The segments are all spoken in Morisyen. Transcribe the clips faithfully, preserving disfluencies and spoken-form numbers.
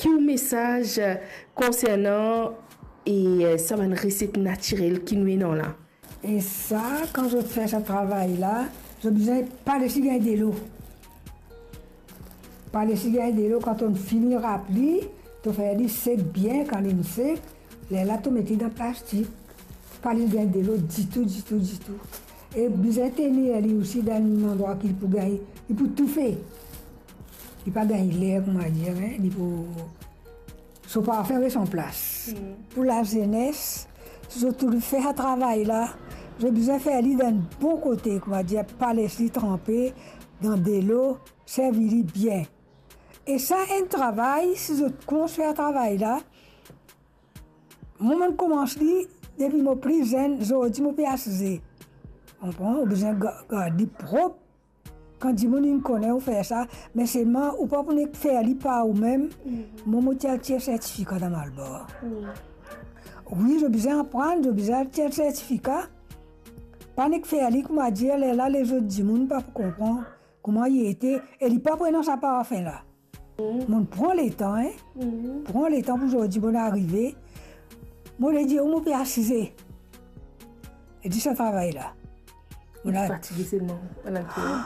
Ki ou mesaz konsernan e sa bann reset natirel ki nou ena la? E sa, kan zot fer sa travay la, zot bizin pa les li gagn delo. Pa les li gagn delo, kan to fini rap li, to fer li sek bien, kan linn sek, lerla to met li dan plastik. Pa les li gagn delo ditou, ditou, ditou. E bizin tenir li osi dan enn landrwa ki li pou gagn, li pou toufe. Li pa gagn ler, koumadir, en, li pou, so parfin res an plas. Pou lazenes, si zot pou fer sa travay la, zot bizin fer li dan enn bon kote, koumadir, pa les li tranpe dan delo, servi li bien. E sa enn travay, si zot koumans fer travay la, mwa, mo'nn koumans li depi mo pli zenn, zordi mo pe asize. Konpran? Ou bizin ga-, gard li prop. Kan dimoun inn kone ou fer sa, me selman ou pa pou nek fer li par oumem, mwa, mo ti al tir sertifika dan Malbar. Wi, zot bizin aprann, zot bizin al tir sertifika. Pa nek fer li, koumadir, lerla lezot dimoun pa pou konpran kouma li ete, e li pa pou ena sa parfin la. Mo'nn pran letan, en. Pran letan pou zordi mo'nn arive. Mo le dir ou, mo pe asize. E dir sa travay la. Mo'nn fatige selman, mo'nn al fer.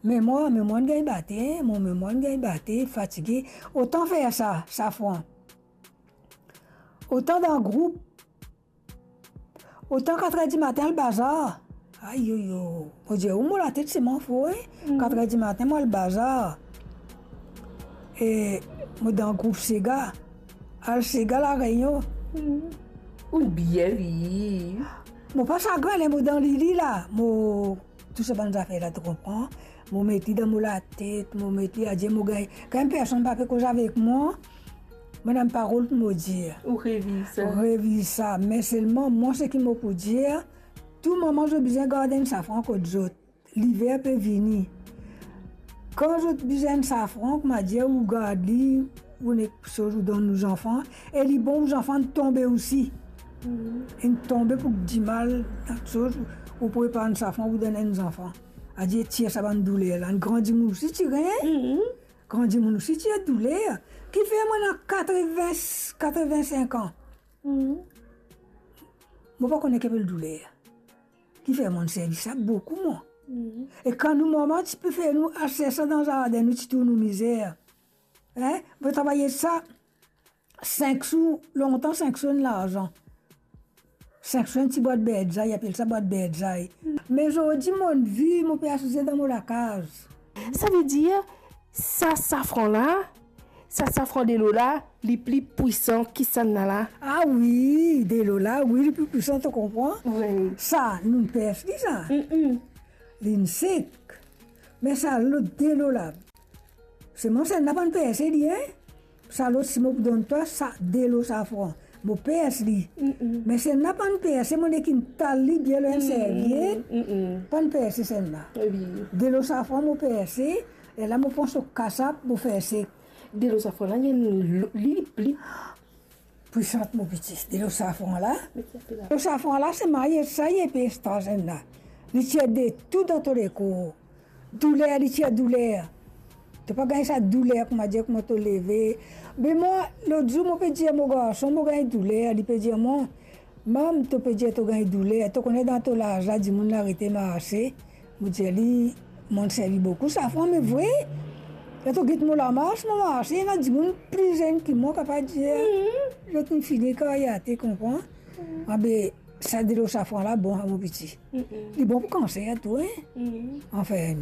Memwar, memwar inn gagn bate, en. Mo memwar inn gagn bate, fatige. Otan fer sa, safran. Otan dan group, otan katrer dimatin al bazar. Ayoyo. Mo dir ou, mo latet selman fou, en. Katrer dimatin, mo al bazar. E mo dan group Sega. Al Sega La Reynion. Ou bien, wi. Mo pa sagrin, ler mo dan lili la. Mo tou sa bann zafer la, to konpran? Mo met li dan mo latet, mo met li, adir mo gagn, kan personn pa pe koz avek mwa, mo ena enn parol pou mo dir. Ou reviv sa. Reviv sa. Me selman, mwa, seki mo pou dir, tou moman zot bizin gard enn safran kot zot. Liver pe vini. Kan zot bizin enn safran, koumadir, ou gard li, ou nek soz ou donn ou zanfan, e li bon ou zanfan tonbe osi. Enn tonbe pou dimal, soz, ou prepar enn safran, ou donn enn zanfan. Adir tir sa bann douler la. Enn gran dimoun osi ti gagn. Gran dimoun osi ti ena douler. Kifer mwa ena katreven, katreven-sink an. Mo pa kone ki apel douler. Kifer mo'nn servi sa boukou, mwa. E kan nou mama ti pe fer nou al sers sa dan zarden, nou ti trouv nou mizer. En? Mo travay sa sink sou, lontan sink sou enn larzan. Sink sou enn ti bwat berdzay, apel sa bwat berdzay. Me zordi mo'nn viv, mo pe asize dan mo lakaz. Savedir, sa safran la, sa safran delo la, li pli pwisan ki sann la la? Ah wi, delo la, wi, li pli pwisan, to konpran? Wi. Sa, nou pers li sa. Linn sek. Me sa lot delo la, selman sann la pa'nn perse li, en? Sa lot, si mo pou donn twa, sa delo safran, mo pers li. Me sann la pa'nn perse, mo nek inn tal li bien lor enn serviet. Pa'nn perse sann la. Wi. Delo safran mo perse, e la mo pran so kasap, mo fer sek. Delo safran la, li enn lo-, li pli pwisan, mo piti. Delo safran la. Delo safran la, se maye sa, li epes, sann la. Li tir de tou dan to lekor. Douler, li tir douler. To pa gagn sa douler, koumadir, kouma to leve. Me mwa, lot zour, mo pe dir mo garson, mo gagn douler, li pe dir mwa, "Mam, to pe dir to gagn douler, to kone dan to laz la, dimoun arete marse." Mo dir li, "Mo'nn servi boukou safran, me vre, ler to get mo lamars, mo marse, ena dimoun pli zenn ki mwa, kapav dir, zot inn fini karyate, konpran?" Abe, sa delo safran la bon, mo piti. Li bon pou kanser tou, en? Anfin,